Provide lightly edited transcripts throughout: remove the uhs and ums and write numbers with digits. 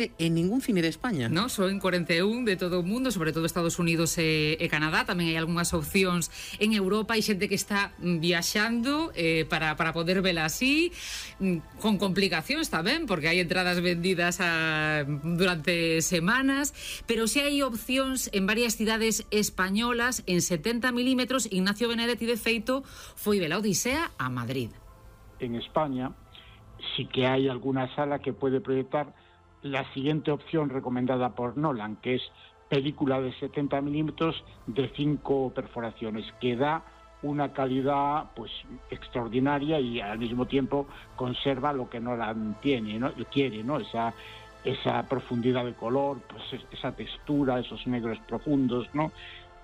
en ningún cine de España. No, só en 41 de todo o mundo, sobre todo Estados Unidos e Canadá. Tamén hai algunhas opcións en Europa. Hai xente que está viaxando para poder vela así, con complicacións tamén, porque hai entradas vendidas durante semanas, pero si hai opcións en varias cidades españolas en 70 milímetros. Ignacio Benedetti, de feito, foi vela Odisea a Madrid. En España sí que hay alguna sala que puede proyectar la siguiente opción recomendada por Nolan, que es película de 70 milímetros de 5 perforaciones, que da una calidad pues extraordinaria y al mismo tiempo conserva lo que Nolan tiene, ¿no? Quiere, ¿no? Esa profundidad de color, pues esa textura, esos negros profundos, ¿no?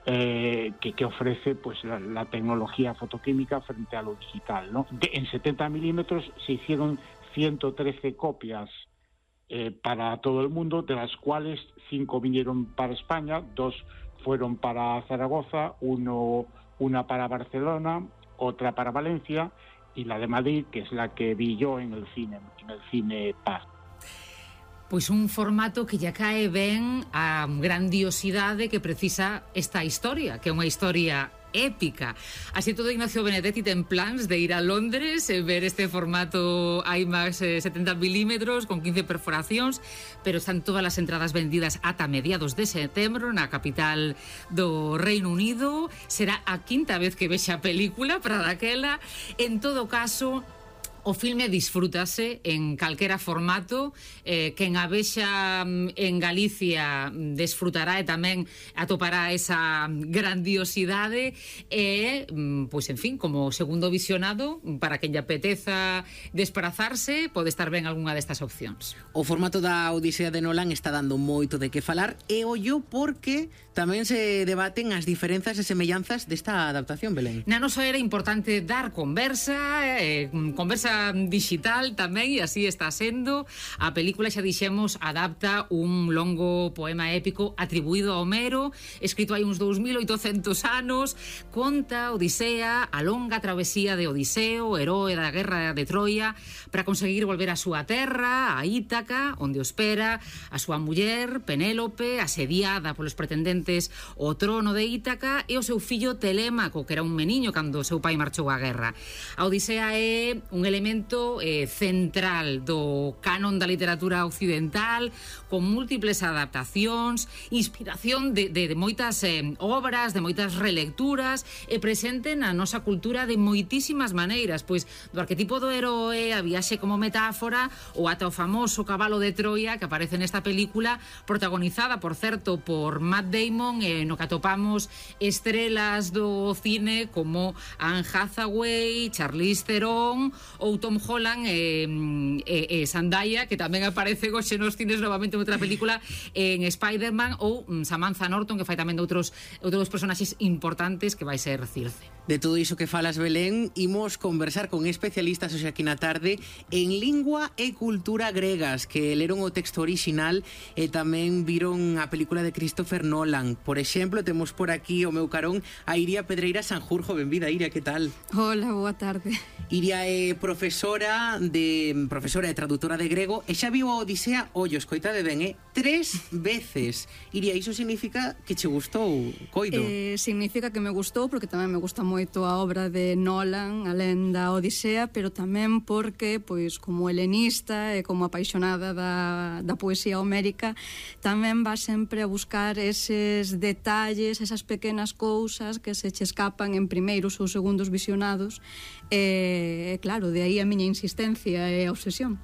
Que ofrece pues la tecnología fotoquímica frente a lo digital, ¿no? En 70 milímetros se hicieron 113 copias para todo el mundo, de las cuales 5 vinieron para España, 2 fueron para Zaragoza, una para Barcelona, otra para Valencia y la de Madrid, que es la que vi yo en el cine Paz. Pois un formato que ya cae ben a grandiosidade que precisa esta historia, que é unha historia épica. Así todo, Ignacio Benedetti ten plans de ir a Londres e ver este formato IMAX 70 milímetros con 15 perforacións, pero están todas as entradas vendidas ata mediados de setembro na capital do Reino Unido. Será a quinta vez que vexa a película para daquela. En todo caso, o filme disfrútase en calquera formato. Quen a vexa en Galicia desfrutará e tamén atopará esa grandiosidade e, pois, en fin, como segundo visionado, para quen lle apeteza desplazarse, pode estar ben algunha destas opcións. O formato da Odisea de Nolan está dando moito de que falar e ollo porque tamén se debaten as diferenzas e semellanzas desta adaptación, Belén. Na nosa era importante dar conversa digital tamén, e así está sendo. A película, xa dixemos, adapta un longo poema épico atribuído a Homero, escrito hai uns 2800 anos. Conta Odisea, a longa travesía de Odiseo, heroe da guerra de Troia, para conseguir volver á súa terra, a Ítaca, onde o espera a súa muller Penélope, asediada polos pretendentes ao trono de Ítaca, e o seu fillo Telémaco, que era un meniño cando o seu pai marchou á guerra. A Odisea é un elemento central do canon da literatura occidental, con múltiples adaptacións, inspiración de moitas obras, de moitas relecturas, e presente na nosa cultura de moitísimas maneiras, pois do arquetipo do heroe, a viaxe como metáfora, ou ata o famoso cabalo de Troia que aparece nesta película, protagonizada, por certo, por Matt Damon, no que atopamos estrelas do cine como Anne Hathaway, Charlize Theron ou Tom Holland e Zendaya, que tamén aparece hoxe nos cines novamente outra película en Spider-Man, ou Samantha Norton, que fai tamén de outros personaxes importantes, que vai ser Circe. De todo iso que falas, Belén, imos conversar con especialistas hoxe aquí na tarde en lingua e cultura gregas, que leron o texto orixinal e tamén viron a película de Christopher Nolan. Por exemplo, temos por aquí o meu carón a Iria Pedreira Sanjurjo. Benvida, Iria, que tal? Hola, boa tarde. Iria é profesora e traductora de grego e xa viu a Odisea, ollo, escoitade ben, 3 veces. Iria, iso significa que che gustou, coido? Significa que me gustou porque tamén me gusta moito a obra de Nolan, alén da Odisea, pero tamén porque, pois, como helenista e como apaixonada da poesía homérica, tamén va sempre a buscar eses detalles, esas pequenas cousas que se che escapan en primeiros ou segundos visionados. Claro, de aí a miña insistencia e a obsesión.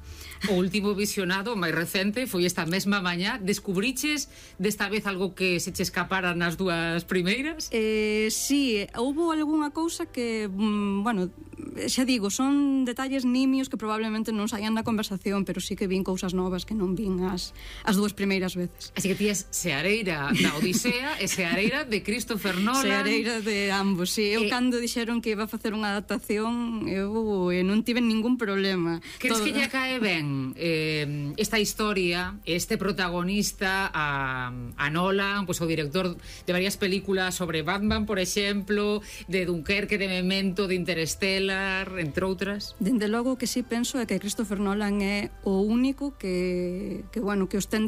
O último visionado, máis recente, foi esta mesma mañá. Descubriches desta vez algo que se che escapara nas dúas primeiras? Sí, houbo algunha cousa que, bueno, xa digo, son detalles nimios que probablemente non saían da conversación, pero sí que vin cousas novas que non vin as dúas primeiras veces. Así que tías seareira da Odisea e seareira de Christopher Nolan. Seareira de ambos, sí. Eu cando dixeron que iba a facer unha adaptación, eu non tive ningún problema. Crees que lle cae ben ten esta historia, este protagonista a Nolan, pois o director de varias películas sobre Batman, por exemplo, de Dunkerque, de Memento, de Interstellar, entre outras. Dende logo que sí penso é que Christopher Nolan é o único que os ten